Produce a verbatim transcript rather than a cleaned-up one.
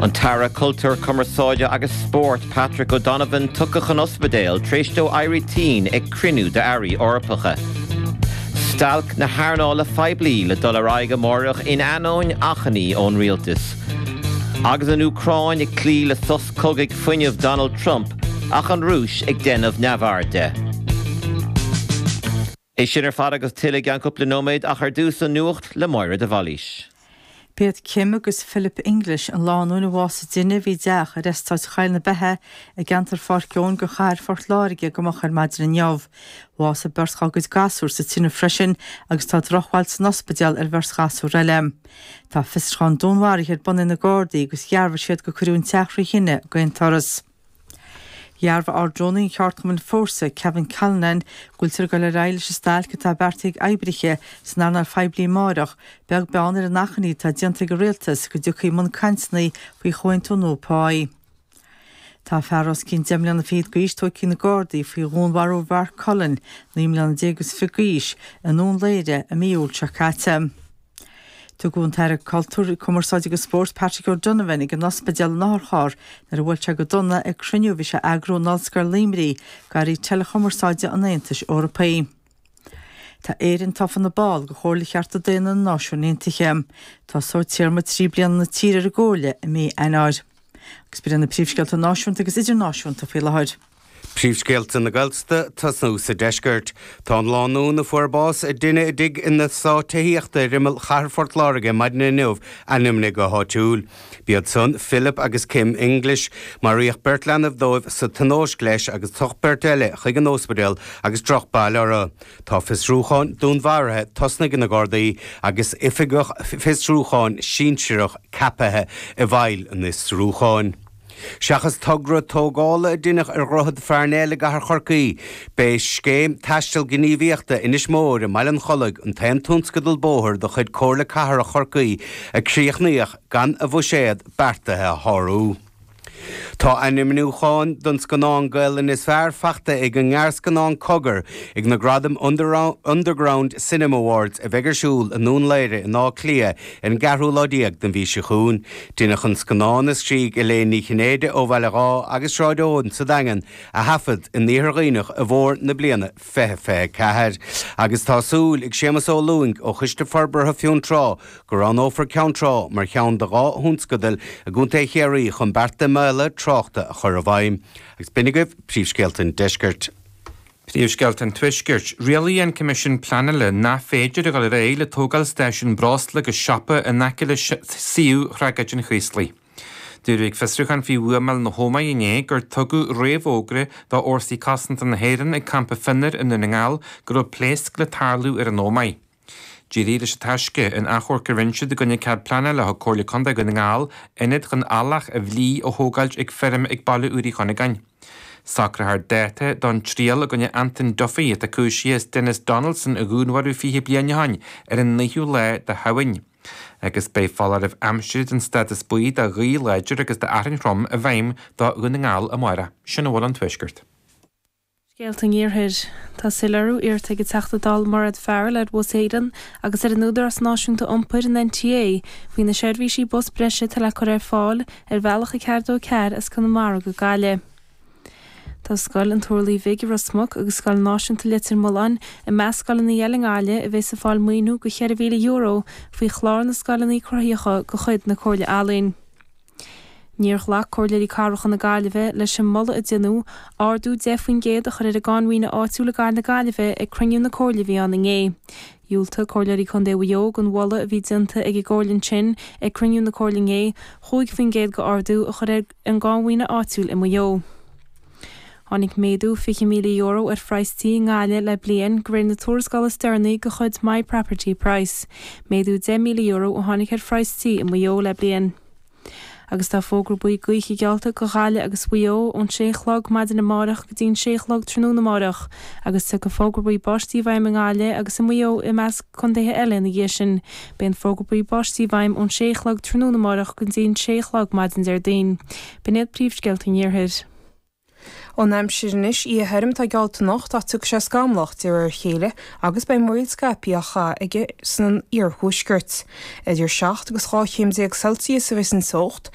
An tAire Cultúir Cumarsáide agus Spóirt Patrick O'Donovan tugtha chun ospidéil tar éis dó éirí tinn ag cruinniú d'airí Eorpacha. Stailc na hearnála poiblí le dul ar aghaidh amárach in ainneoin achainí ón rialtas. Agus an Úcráin ag cloí le sos cogaidh fuinnimh Donald Trump ach an Rúis ag déanamh neamhaird de. É sin ar fad agus tuilleadh i gceann cúpla nóiméad ach ar dtús an nuacht le Máire de Bhailís. B'iad Kim agus Philip English an lánúin a bhásaigh i dtine a bhí i dteach ar eastát Choill na Beithe i gceantar Pháirc Eoin de chathair Phort Láirge go moch ar maidin inniu. Bhásaigh beirt dá gcuid gasúr sa tine freisin agus tá drochbhail san ospidéal ar bheirt ghasúr eile. Tá fiosrúchán dúnmharaithe ar bun ag na Gardaí agus dhearbhaigh siad gur cuireadh an teach trí thine d'aon turas. Dhearbhaigh Ard-Rúnaí an cheardchumainn Fórsa Kevin Callinan go bhfuiltear ag dul ar aghaidh leis an stailc atá beartaithe ag oibrithe san earnáil phoiblí amárach, beag beann ar an achainí atá déanta ag an rialtas go dtiocfaí i mbun cainteanna faoi chomhaontú nua páí. Tá fear os cionn deich mbliana fichead d'aois tógtha ag na Gardaí faoi dhúnmharú Mhark Cullen, naoi mbliana déag agus fiche d'aois, i nDún Laoghaire i mí Iúil seo caite. Tugadh an tAire Cultúir, Cumarsáide agus Spóirt Patrick O'Donovan ag an ospidéal in otharcharr nuair a bhuail sé go dona ag cruinniú a bhí sé a eagrú in Ollscoil Luimnigh d'airí teileachumarsáide an Aontais Eorpaigh. Tá Éirinn tofa ina ball de Chomhairle Chearta Daonna na Náisiún Aontaithe. Tosóidh téarma trí bliana na tíre ar an gComhairle i mí Eanáir. Agus b'in na príomhscéalta náisiúnta agus idirnáisiúnta faoi láthair. Príomhscéalta na Gaeltachta tosnú sa deisceart. Tá an lánúin a fuair bás i dtine i dtigh in eastát tithíochta ar imeall chathair Phort Láirge maidin inniu ainmnithe go háitiúil. B'iad san Philip agus Kim English maraíodh beirt leanbh dóibh sa tionóisc leis agus tugadh beirt eile chuig an ospidéal agus drochbhail orthu. Tá fiosrúchán dúnmharaithe tosnaithe ag na Gardaí agus oifigeach fiosrúcháin sinsearach ceaptha i bhfeighil an fhiosrúcháin. Seachas togra tógála a deineadh ar Dhroichead Pharnell i gcathair Chorcaí, b'é scéim taisteal gníomhaíochta Inis Mór i mBaile an Chollaigh an t-aon tionscadal bóthair de chuid Comhairle Cathrach Chorcaí a críochnaíodh gan a bhuiséad beartaithe a shárú. Tá ainmniúchán don scannán Gaelainne is fearr faighte ag an ngearrscannán Cogar ag na Gradaim Underground Cinema Awards a bheidh ar siúl i nDún Laoghaire in Áth Cliath ar an gceathrú lá déag den mhí seo chugainn. Deineadh an scannán a scrígh Elaine Ní Chinnéide ó Bhaile Dhá agus Sráid Eoin sa Daingean a thaifead in Iarthar Dhuibhneach i bhfómhar na bliana fiche fiche ceathair. Agus tá súil ag Séamus Ó Lúing ó Choiste Forbartha Fionntrá go roghnófar Ceann Trá mar cheann de dhá thionscadal i gContae Chiarraí chun bearta imeallaithe tráchta a chur i bhfeidhm. Agus b'in agaibh príomhscéalta an deiscirt. Príomhscéalta an Tuaiscirt, rialaigh an Coimisiún Pleanála nach féidir a dhul ar aghaidh le tógáil stáisiún breosla agus siopa in aice le suíomh thragóid an Chraoslaigh. Dúradh ag fiosrúchán faoi bhuamáil na hÓmaí inné gur tugadh réamhfhógra do Fhórsaí Cosanta na hÉireann ag campa Fionnar i nDún na nGall go raibh pléasc le tarlú ar an Ómaigh. D'éirigh leis an taisce in achomharc a rinne siad i gcoinne cead pleanála a thug Comhairle Contae Dhún na nGall ionad chun eallach a bhlí a thógáilt ag feirm ag Baile Úr Uí Chuinneagáin. Socrófar dáta don triail i gcoinne Anton Duffy atá cúisithe is Denis Donaldson a dhúnmharú fiche bliain ó shin ar an naoú lá de Shamhain. Agus beidh foláireamh aimsire den stádas buí do ghaoth láidir agus d'fhearthainn throm i bhfeidhm do Dhún na nGall amárach. Sin a bhfuil ón Tuaisceart. Scéalta an Iarthair. Tá soiléiriú iarrtha ag an Teachta Dála Mairéad Farrell ar Bhus Éireann agus ar an Údarás Náisiúnta Iompair an NTA faoi na seirbhísí bus breise atá le cur ar fáil ar bhealach a ceathair dó ceathair as Conamara go Gaillimh. Tá scoil an Turlaigh Bhig i Ros Muc agus Scoil Náisiúnta Leitir Mealláin i measc scoileanna eile i nGaillimh a bheas ag fáil maoiniú go ceithre mhíle euro faoi chlár na scoileanna cruthaitheacha de chuid na Comhairle Ealaíon. Níor ghlac Comhairleoirí Cathracha na Gaillimhe leis an moladh a deineadh ardú deich faoin gcéad a chur ar an gcáin mhaoine áitiúil i gcathair na Gaillimhe ag cruinniú na Comhairle a bhí ann inné. Dhiúltaigh Comhairleoirí Contae Mhaigh Eo don mholadh a bhí déanta ag an gComhairle ansin ag cruinniú na Comhairle inné cúig faoin gcéad d'ardú a chur ar an gcáin mhaoine áitiúil i Maigh Eo. Tháinig méadú fiche míle euro ar phraghas tí i nGaillimh le bliain de réir na tuarascála is deireanaí de chuid My Property Price. Méadú deich míle euro a tháinig ar phraghas tí i Maigh Eo le bliain. Agus tá fógra buí gaoithe geallta do Ghaillimh agus Mhaigh Eo ón sé a chlog maidin amárach go dtí an sé a chlog tráthnóna amárach, agus tiocfaidh fógra buí báistí i bhfeidhm i nGaillimh agus i Maigh Eo i measc contaetha eile ina dhiaidh sin. Beidh an fógra buí báistí i bhfeidhm ón sé a chlog tráthnóna amárach go dtí an sé a chlog maidin Déardaoin. B'in iad príomhscéalta an Iarthair. An aimsir anois oíche thirim atá geallta anocht ach tiocfaidh sé scamallach de réir a chéile agus beidh múraíl scaipthe á chaitheamh aige san iarthuaisceart. Idir seacht agus dhá chéim déag Celsius a bheas an teocht.